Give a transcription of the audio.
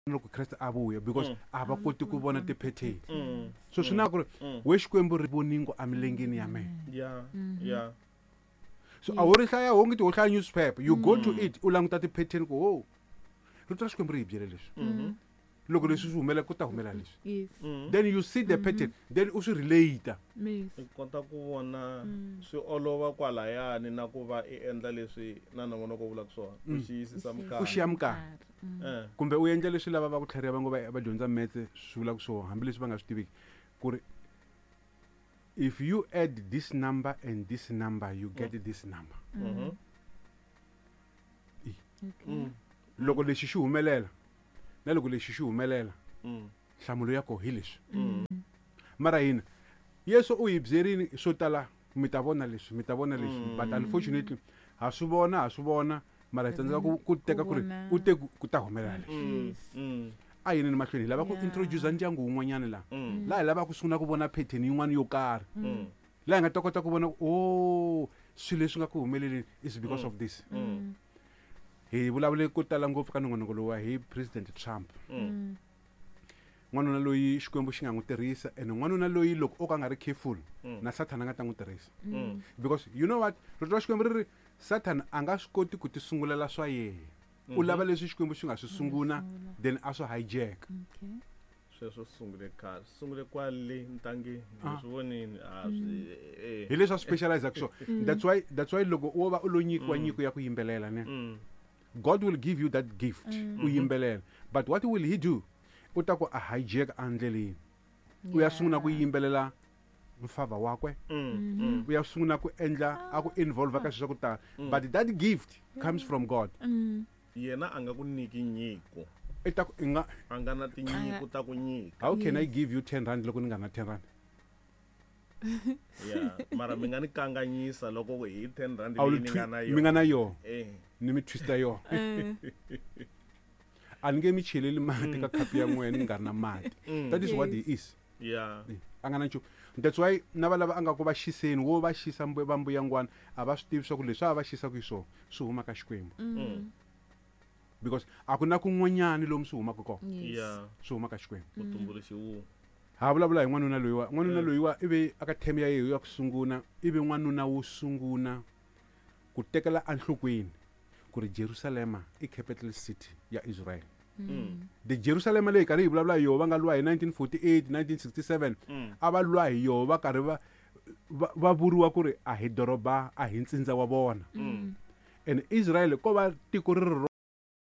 Loko Kreste a vuya, because a va koti ku vona ti-pattern. So swi na ku ri we Xikwembu ri voningo emilengeni ya mehe. So a wu ri hlaya wonge ti wo hlaya newspaper, you go to it, u languta ti-pattern ku ho rito ra Xikwembu ri hi byele leswi, loko leswi swi humelela ku ta humelela leswi. Then you see the pattern, then u swi relate. I kota ku vona swi olova kwalayani na ku va i endla leswi na nongonoko wu vulaka swona, u xiyisisa u xiya minkarhi. Kumbe u endla leswi lava va ku tlhariha va ngo va dyondza metse swi vulaka swona, hambileswi va nga swi tiviki ku ri if you add this number and this number, you get this number. Loko lexi xi humelela na loko lexi xi humelela, nhlamulo ya koho hi leswi. Mara hina Yesu u hi byerini swo tala, mi ta vona leswi, mi ta vona leswi, but unfortunately ha swi vona, ha swi vona, mara hi tsandzeka ku teka ku ri u te ku ta humelela leswi. A yini ni mahlweni hi lava ku introduce ndyangu wun'wanyana laha, laha hi lavaka ku sungula ku vona pattern yin'wana yo karhi, laha hi nga ta kota ku vona o swilo leswi nga ku humeleleni is because of this. Hi vulavule ko tala ngopfu ka nongonoko lowa hi President Trump, n'wanuna loyi Xikwembu xi nga n'wi tirhisa, and n'wanuna loyi loko o ka nga ri careful na Sathana a nga ta n'wi tirhisa, because you know what, rito ra Xikwembu ri ri Satan a nga swi koti ku ti sungulela swa yehe, u lava leswi Xikwembu xi nga swi sunguna, then a swi hijack. Sweswo swi sungule khale, swi sungule kwale ntangeni. Swi vonini a swi Hi leswi a specialize swona. That's why loko wo va u lo nyikiwa nyiko ya ku yimbelela ne, God will give you that gift, u yimbelela, but what will he do? U ta ku a hijack endleleni, u ya sungula ku yimbelela mfava wakwe, u ya sungula ku endla a ku involve ka swilo swa ku tala, but that gift comes from God. Yena a nga ku nyiki nyiko. I ta ku i nga A nga na tinyiko ta ku nyika. How can I give you 10 rand loko ni nga na 10 rand? Ya, mara mi nga ni kanganyisa loko hi 10 rand A wu leyi ni nga na mi nga na yona. Ni mi twista yona. A ni nge mi cheleli mati ka khapu ya n'wina ni nga ri na mati. That is what he is. A nga na nchumu. That's why na va lava a nga ku va xiseni, wo va xisa va mbuyangwana, a va swi tivi swa ku leswi a va xisaka hi swona swi huma ka Xikwembu, because a ku na kun'wanyani lomu swi humaka kona. Swi huma ka Xikwembu. Mutumbuluxi wu Ha vulavula hi n'wanuna loyiwa. N'wanuna loyiwa i ve aka term ya yehe ya ku sunguna, i ve n'wanuna wo sunguna ku tekela enhlokweni ku ri Jerusalema i capital city ya Israel. The Jerusalema leyi karhi hi vulavula hi yoho, va nga lwa hi 1948, 1967, a va lwa hi yoho, va karhi va vuriwa ku ri a hi doroba, a hi ntsindza wa vona, and Israel ko va tiko ri ri